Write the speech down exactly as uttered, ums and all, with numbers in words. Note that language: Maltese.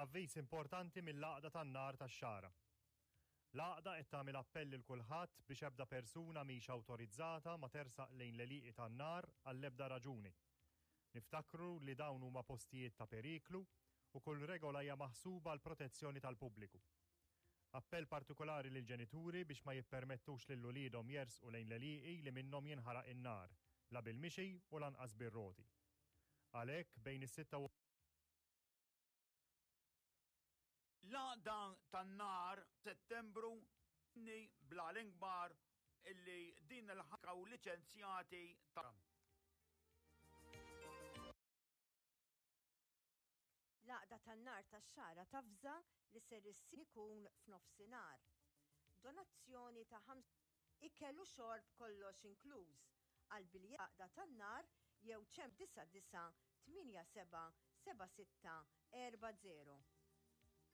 Avviż importanti mill-Għaqda tan-Nar tax-Xagħra. L-għaqda qed tagħmel appell lil kulħadd biex ebda persuna mhix awtorizzata ma tersaq lejn l-għelieqi tan-nar għall-ebda raġuni. Niftakru li dawn huma postijiet ta' periklu u kull regola hija maħsuba għal protezzjoni tal-pubbliku. Appell partikolari lil ġenituri biex ma jippermettux lil uliedhom jersqu lejn l-għelieqi li minnhom jinħaraq in-nar, la bil-mixi u lanqas bir-roti. Għalhekk bejn is-sitta u L-Għaqda tan-Nar Settembru ni bla l-inkbar illi din il-ħaka u liċenzjati ta' L-Għaqda tan-Nar tax-Xagħra tavża li ser issir ikun f'nofsinhar. Donazzjoni ta' ħams ikel u xorb kollox inkluż għal biljett Għaqda tan-Nar jew ċem disa' disa' tmienja seba' seba' sitta erba' zero.